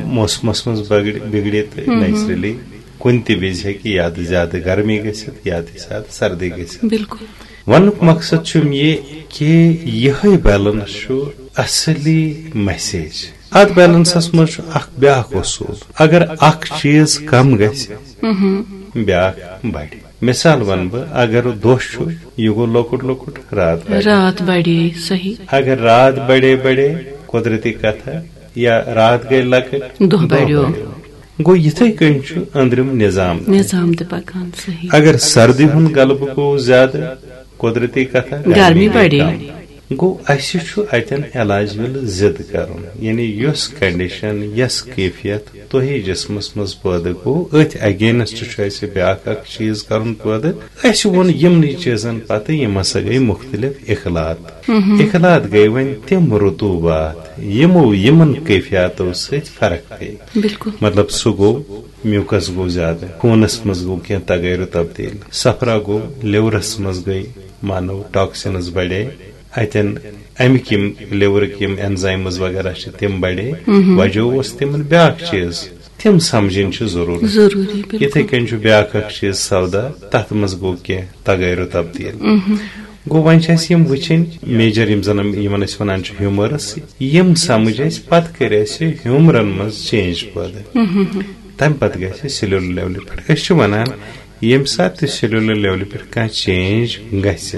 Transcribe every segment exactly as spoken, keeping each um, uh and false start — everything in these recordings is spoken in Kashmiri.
موسمس منٛز بگڑِ بگڑِ تہٕ نیچرلی کُنہِ تہِ وِزِ ہیٚکہِ یا تہِ زیادٕ گرمی گٔژھِتھ یا تہِ زیادٕ سردی گٔژھِتھ۔ بالکل۔ وننُک مقصد چھُم یہِ کہِ یِہوٚے بیلنس چھُ اصلی میسیج۔ اتھ بیلنسس منٛز چھُ اکھ بیاکھ اصوٗل، اگر اکھ چیٖز کم گژھِ، بیاکھ بڑِ۔ مثال ونہٕ بہٕ، اگر دۄہ چھُ، یہِ گوٚو لۄکُٹ لۄکُٹ، رات بڑِ۔ رات بڑے، صحیح۔ اگر رات بڑے بڑے، قدرتی کتھا، یا رات گٔے لۄکٕٹ، دۄہ بڑیو۔ گوٚو یِتھے کٔنۍ چھُ أنٛدرِم نظام تہِ۔ نظام تہِ پکان، صحیح۔ اگر سردی ہُنٛد غلبہٕ گوٚو زیادٕ، قدرتی کتھا، گرمی گرمی گٔے بڑے۔ کم۔ گوٚو، اسہِ چھُ اتٮ۪ن علاج وِلہٕ ضد کرُن، یعنی یۄس کنڈیشن، یۄس کیفیت تۄہہِ جسمس منٛز پٲدٕ گوٚو، أتھۍ against چھُ اسہِ بیاکھ اکھ چیٖز کرُن پٲدٕ۔ اسہِ ووٚن یِمنٕے چیٖزن پتہٕ، یِم ہسا گٔے مختلف اخلاط۔ اخلاط گٔے وۄنۍ تِم رطوبات، یِمو، یِمن کیفیاتو سۭتۍ فرق پیٚیہِ۔ بالکل۔ مطلب، سُہ گوٚو، میوٗکس گوٚو زیادٕ، خوٗنس منٛز گوٚو کینٛہہ تغیر و تبدیل، صفرا گوٚو، liverس منٛز گٔے، مانو، toxins بڑے، اتٮ۪ن امِکۍ یِم liverٕکۍ یِم enzymes وغیرہ چھِ، تِم بڑے۔ وجہ اوس تِمن بیاکھ چیٖز، تِم سمجھِنۍ چھِ ضروٗرت۔ ضروٗری، بالکل۔ یِتھے کٔنۍ چھُ بیاکھ اکھ چیٖز سودا، تتھ منٛز گوٚو کینٛہہ تغیر و تبدیل۔ گوٚو، وۄنۍ چھِ اسہِ یِم وٕچھِنۍ، major یِم زن یِمن أسۍ ونان چھِ humors، یِم سمجھ اسہِ، پتہٕ کٔرۍ اسہِ humorن منٛز change پٲدٕ۔ تمہِ پتہٕ گژھِ cellular levelہِ پٮ۪ٹھ۔ أسۍ چھِ ونان، ییٚمہِ ساتہٕ تہِ cellular levelہِ پٮ۪ٹھ کانٛہہ change گژھِ،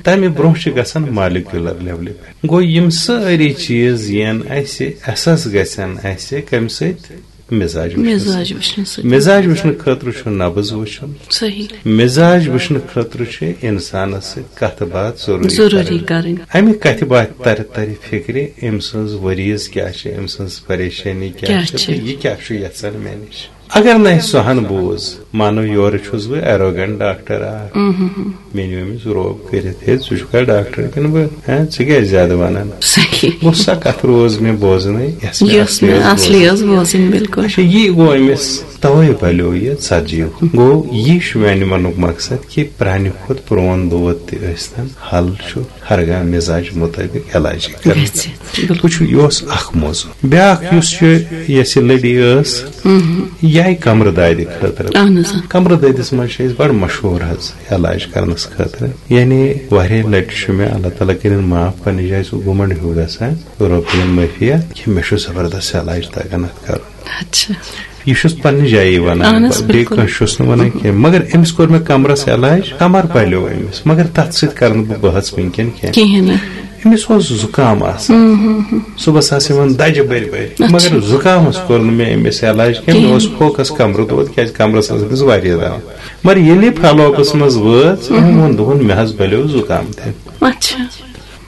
تمہِ برونٛہہ چھِ گژھان molecular levelہِ پٮ۪ٹھ۔ گوٚو، یِم سٲری چیٖز یِن اسہِ، احساس گژھن اسہِ کمہِ سۭتۍ؟ مزاج وٕچھنہٕ مزاج سۭتۍ۔ وٕچھنہٕ سۭتۍ۔ مزاج وٕچھنہٕ خٲطرٕ چھُ نبض وٕچھُن۔ صحیح۔ مزاج وٕچھنہٕ خٲطرٕ چھِ انسانس سۭتۍ کتھ باتھ ضروٗری ضروٗری کرٕنۍ۔ کرٕنۍ۔ امہِ کتھِ باتھِ ترِ ترِ فکرِ، أمۍ سٕنٛز ؤریٖز کیٛاہ چھِ، أمۍ سٕنٛز پریشٲنی کیٛاہ کیٛاہ چھِ چھِ؟ تہٕ یہِ کیٛاہ چھُ یژھان مےٚ نِش۔ اگر نہٕ اسہِ سۄ ہن بوٗز، مانو یورٕ چھُس بہٕ arrogant ڈاکٹر اکھ، مےٚ نیوٗ أمِس روب کٔرِتھ، ہے، ژٕ چھُکھا ڈاکٹر کِنہٕ بہٕ؟ ہے، ژٕ کیٛازِ زیادٕ ونان؟ صحیح۔ گوٚو، سۄ کتھ روز مےٚ بوزنٕے، یۄس مےٚ یۄس اصلی مےٚ ٲس اصلی بوزٕنۍ۔ ٲس بوزٕنۍ، بالکل۔ اچھا، یی گوٚو أمِس توے بلیو یہِ ژتجی۔ گوٚو، یہِ چھُ میانہِ وننُک مقصد کہِ پرانہِ کھۄتہٕ پرون دود تہِ ٲسۍتن، حل چھُ ہرگاہ مزاج مطٲبق علاج کرُن۔ گژھِ، بالکل۔ وٕچھِو، یہِ اوس اکھ موضوع۔ بیاکھ یُس چھُ، یۄس یہِ لٔڈی ٲس، یہِ آیہِ کمرٕ دادِ خٲطرٕ۔ اہن حظ، آ۔ کمرٕ دٲدِس منٛز چھِ أسۍ بڑٕ مشہوٗر حظ علاج کرنس خٲطرٕ۔ یعنی واریاہ لٹہِ چھُ مےٚ، اللہ تعالیٰ کٔرِن معاف، پننہِ جایہِ سُہ گُمنڈ ہیوٗ گژھان، رۄب دِیِن معٲفی، کہِ مےٚ چھُ زبردست علاج تگان اتھ کرُن۔ اچھا۔ یہِ چھُس پننہِ جایہِ ونان، اہن حظ، بیٚیہِ بالکل۔ کٲنٛسہِ چھُس نہٕ ونان کینٛہہ۔ مگر أمِس کوٚر مےٚ کمرس علاج، کمر پلیو أمِس، مگر تتھ سۭتۍ کرٕ نہٕ بہٕ بحث وٕنکیٚن کینٛہہ۔ کِہیٖنۍ نہٕ۔ أمِس اوس زُکام آسان۔ صُبحس آسہٕ یِوان دجہِ بٔرۍ بٔرۍ۔ اچھا۔ مگر زُکامس کوٚر نہٕ مےٚ أمِس علاج کینٛہہ۔ مےٚ کِہیٖنۍ۔ اوس فوکس کمرٕ دود، کیٛازِ کمرس ٲس أمِس واریاہ دوا۔ مگر ییٚلہِ follow-upس منٛز وٲژ، أمۍ ووٚن، دوٚپُن، مےٚ حظ بلیو زُکام تہِ۔ اچھا۔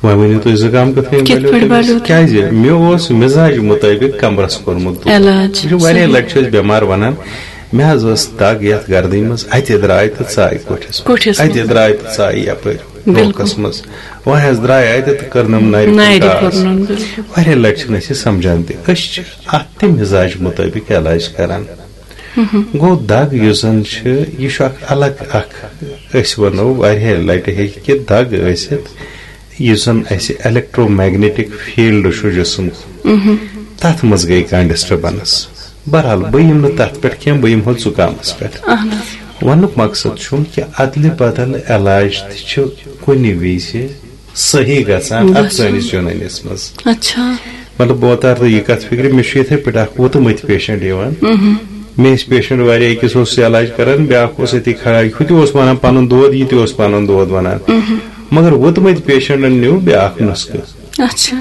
وۄنۍ ؤنِو تُہۍ، زُکام کِتھ کٔنۍ کِتھ بلیو پٲٹھۍ تٔمِس؟ بلیو تٔمِس؟ کیٛازِ؟ مےٚ اوس مزاج مطٲبق کمرس کوٚرمُت دود۔ علاج۔ وٕچھِو، واریاہ صحیح۔ لٹہِ چھِ أسۍ بٮ۪مار ونان، مےٚ حظ ٲس دگ یتھ گردنہِ منٛز، اتہِ درٛاے تہٕ ژایہِ کوٹھِس منٛز۔ کوٹھِس اتہِ منٛز۔ درٛاے تہٕ ژایہِ یپٲرۍ بالکل۔ روکس منٛز۔ وۄنۍ حظ درٛاے اتہِ تہٕ کٔرنم نرِ نرِ کُن کاس۔ کُن، بالکل۔ واریاہ لٹہِ چھِنہٕ أسۍ یہِ سمجھان تہِ۔ أسۍ چھِ اتھ تہِ مزاج مطٲبق علاج کران۔ گوٚو، دگ یُس زن چھِ، یہِ چھُ اکھ الگ اکھ، أسۍ ونو، واریاہ لٹہِ ہیٚکہِ کہِ دگ ٲسِتھ، یُس زن اسہِ electromagnetic field چھُ جسم، تتھ منٛز گٔے کانٛہہ disturbance۔ بہرحال، بہٕ یِمہٕ نہٕ تتھ پٮ۪ٹھ کینٛہہ، بہٕ یِمہٕ ہو زُکامس پٮ۪ٹھ۔ اہن حظ۔ وننُک مقصد چھُم کہِ ادلہِ بدل علاج تہِ چھُ کُنہِ وِزِ صحیح گژھان اتھ گژھان۔ سٲنِس یوٗنٲنِس منٛز۔ اچھا۔ مطلب، بہٕ وتارٕ تۄہہِ یہِ کتھ فکرِ، مےٚ چھُ یِتھے پٲٹھۍ اکھ وُتمٕتۍ patient یِوان۔ مےٚ ٲسۍ patient واریاہ، أکِس اوس علاج کران، بیاکھ اوس أتی کھڑا، ہُہ تہِ اوس ونان پنُن دود، یہِ تہِ اوس پنُن دود ونان۔ مگر وُتمٕتۍ patientن نیوٗ بیاکھ نُسخہٕ۔ اچھا۔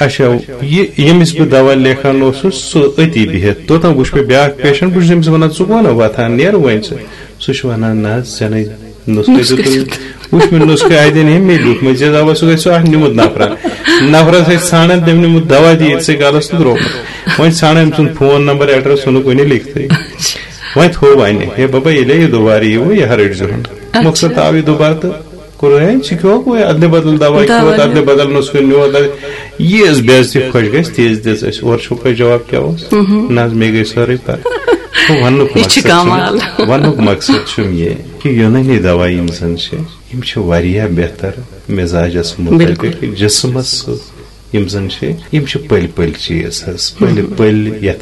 اچھا، یہِ ییٚمِس بہٕ دوا لیکھان اوسُس، سُہ أتی بِہِتھ۔ توٚتام وُچھ مےٚ بیاکھ patient، بہٕ چھُس أمِس ونان، "ژٕ کون وۄتھان، نیر وۄنۍ ژٕ؟" سُہ چھُ ونان، "نہ حظ، ژےٚ نے نُسخہٕ نُسخہٕ دیُتُے۔" دیُت۔ وُچھ مےٚ نُسخہٕ اتٮ۪ن، ہے، مےٚ لیوٗکھ، مےٚ ژےٚ دوا، سُہ گژھِ سُہ اکھ نیُمُت نفرا۔ نفرس اتھِ ژھانڈان، تٔمۍ نیوٗمُت دوا تہِ ییٚتہِ سٕے گلس تہٕ درٛومُت۔ وۄنۍ ژھانڈان أمۍ سُنٛد phone number address، سُہ نہٕ کُنہِ لیکھتٕے۔ وۄنۍ تھوٚو وۄنۍ، ہے بابا، ییٚلے یہِ دُبارٕ یِیہِ، یہِ ہا رٔٹۍ زِہون۔ اچھا۔ مقصد آو یہِ دُبارٕ تہٕ کوٚر، ہے، ژٕ کھیوٚوکھ وۄنۍ ادلہِ بدل دوا، دوا کھیوٚوتھ ادلہِ بدل نُسخہٕ نیوٗتھ۔ یہِ ٲس بے عزتی خۄش گژھِ، تیز دِژ اَسہِ۔ اورٕ چھُو پَے جواب کیٛاہ اوس؟ نہ حظ، مےٚ گٔے سٲرٕے پَتہ۔ گوٚو وَننُک یہِ چھِ مقصد چھُم، کمال۔ وَننُک مقصد چھُم یہِ کہِ یوٗنٲنی دوا یِم زَن چھِ، یِم چھِ واریاہ بہتر مِزاجَس مُطٲبِق، بِلکُل۔ جِسمَس سۭتۍ یِم زَن چھِ، یِم چھِ پٔلۍ پٔلۍ چیٖز حظ، پٔلۍ پٔلۍ یَتھ